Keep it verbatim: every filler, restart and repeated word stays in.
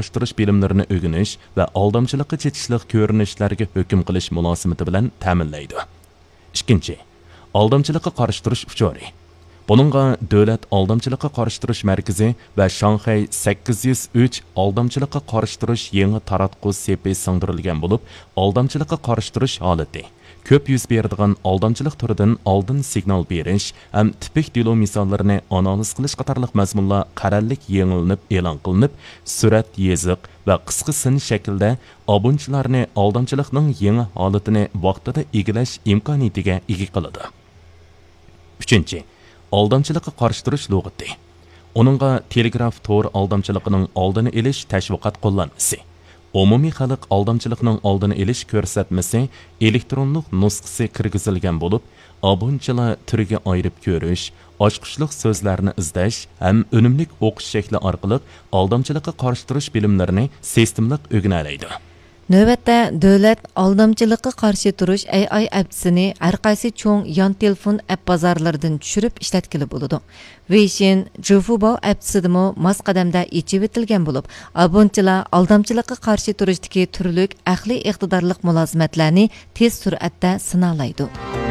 قارشى تۇرۇش بىلىملىرىنى ئۆگىنىش ۋە ئالدامچىلىققا چېتىشلىق كۆرۈنۈشلەرگە ھۆكۈم قىلىش مۇلازىمىتى بىلەن تەمىنلەيدۇ. ئىككىنچى، ئالدامچىلىققا قارشى تۇرۇش ئۇچۇرى. بۇنىڭغا دۆلەت ئالدامچىلىققا قارشى تۇرۇش مەركىزى ۋە شاڭخەي سەككىز يۈز ئۈچ ئالدامچىلىققا قارشى تۇرۇش يېڭى تاراتقۇ سېپى سىڭدۈرۈلگەن بولۇپ، ئالدامچىلىققا قارشى تۇرۇش ھالىتى، كۆپ يۈز بېرىدىغان ئالدامچىلىق تۈرىدىن ئالدىن سىگنال بېرىش ھەم تىپىك دېلو مىساللىرىنى ئانالىز قىلىش قاتارلىق مەزمۇنلار قەرەللىك يېڭىلىنىپ ئېلان قىلىنىپ، سۈرەت يېزىق ۋە قىسقا سىن شەكلىدە ئابۇنىچىلارنى ئالدامچىلىقنىڭ يېڭى ھالىتىنى ۋاقتىدا ئىگىلەش ئىمكانىيىتىگە ئىگە قىلىدۇ. ئۈچىنچى، ئالدامچىلىققا قارشى تۇرۇش لۇغىتى. ئۇنىڭغا تېلېگراف تور ئالدامچىلىقىنىڭ ئالدىنى ئېلىش تەشۋىقات قوللانمىسى، ئومۇمىي خەلق ئالدامچىلىقنىڭ ئالدىنى ئېلىش كۆرسەتمىسى، ئېلېكترونلۇق نۇسخىسى كىرگۈزۈلگەن بولۇپ، ئابۇنىچىلار تۈرگە ئايرىپ كۆرۈش، ئاچقۇچلۇق سۆزلەرنى ئىزدەش ھەم ئۈنۈملۈك ئوقۇش شەكلى ئارقىلىق ئالدامچىلىققا قارشى تۇرۇش بىلىملىرىنى سىستېمىلىق ئۆگىنەلەيدۇ. نۆۋەتتە دۆلەت ئالدامچىلىققا قارشى تۇرۇش ئەي ئاي ئەپچىسىنى ھەر قايسى چوڭ يان تېلېفون ئەپ بازارلىرىدىن چۈشۈرۈپ ئىشلەتكىلى بولىدۇ. ۋېيشىن، جۇفۇباۋ ئەپچىسىدىمۇ ماس قەدەمدە ئېچىۋېتىلگەن بولۇپ، ئابۇنىچىلار ئالدامچىلىققا قارشى تۇرۇشتىكى تۈرلۈك ئەقلىي ئىقتىدارلىق مۇلازىمەتلەرنى تېز سۈرئەتتە سىنالايدۇ.